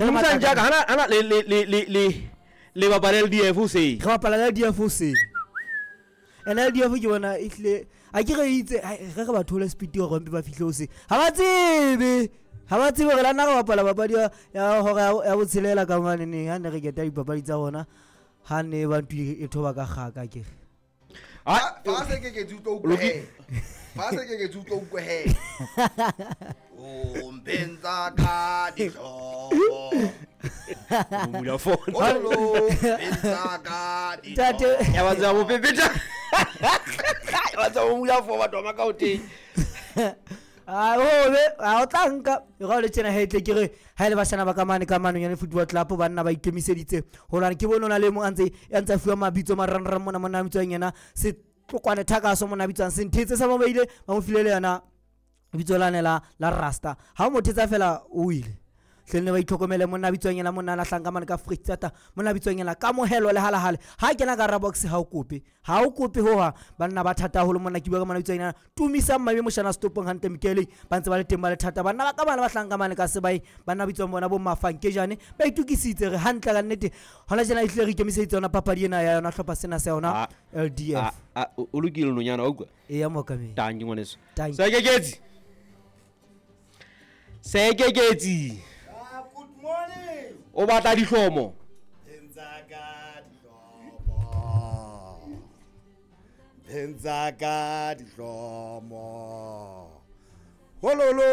Dumisang jaaka hana hana le le le le le le bapala LDF o se. Re bapala le LDF o se. And LDF ke bona e tlile a ke re itse ge re ba thole speed gore mpe ba fihle o se. Ha ba tsebe. Ha ba tsebe gore la nna re bapala papadi ya hora ya botshelela ka mane neng ha ne re keta dipapadi tsa rona ha ne ba ntwe e thoba ka kgaka ke re. Fa se ke ke tso utlwe he. Fa se ke ke tso utlwe he. O mpenza ka dihlomo. Mula phone. Olo mpenza ka dihlomo. Ya ba tsa bo pepeta. Ya ba tsa bo mula phone batho ba ka o teng. A o be a o tla nka e ga o le tjena he tle ke re ha ile bashana ba ka mane ka mane football club banna ba ikemiseditse ho lwana ke bone o na le mong a ntse ya ntse a fuwa mabitso marangrang mona monna a bitswang yena setlokwane thakaso monna a bitswang senthetse sa mobaile ba mo file le yona lebitso lane la la rasta ha o mo thetsa fela o ile hleng ne ba itlhokomele monna a bitswang yena monna a lahlang ka mane ka freestata monna a bitswang yena kamohelo le halahale ha kena ka rabox ha o kope ha o kope hoha banna ba thata haholo monna ke bua ka monna a bitswang yena tumisang mame moshana setopong hantle mokele ba ntse ba le teng ba le thata banna ba ka bana ba hlang ka mane ka sebae banna ba bitswang bona bo mafankejane ba itukisitse re hantle ka nnete hona tjena ehlile re ikemiseditse yona papadi ena ya yona hlopha sena sa yona LDF o lokile nonyana wa utlwa e ya mookamedi tanki ngwaneso Tanki. sekeketsi sekeketsi Good morning. o batla dihlomo Mpenza ka dihlomo. Mpenza ka dihlomo. Hololo.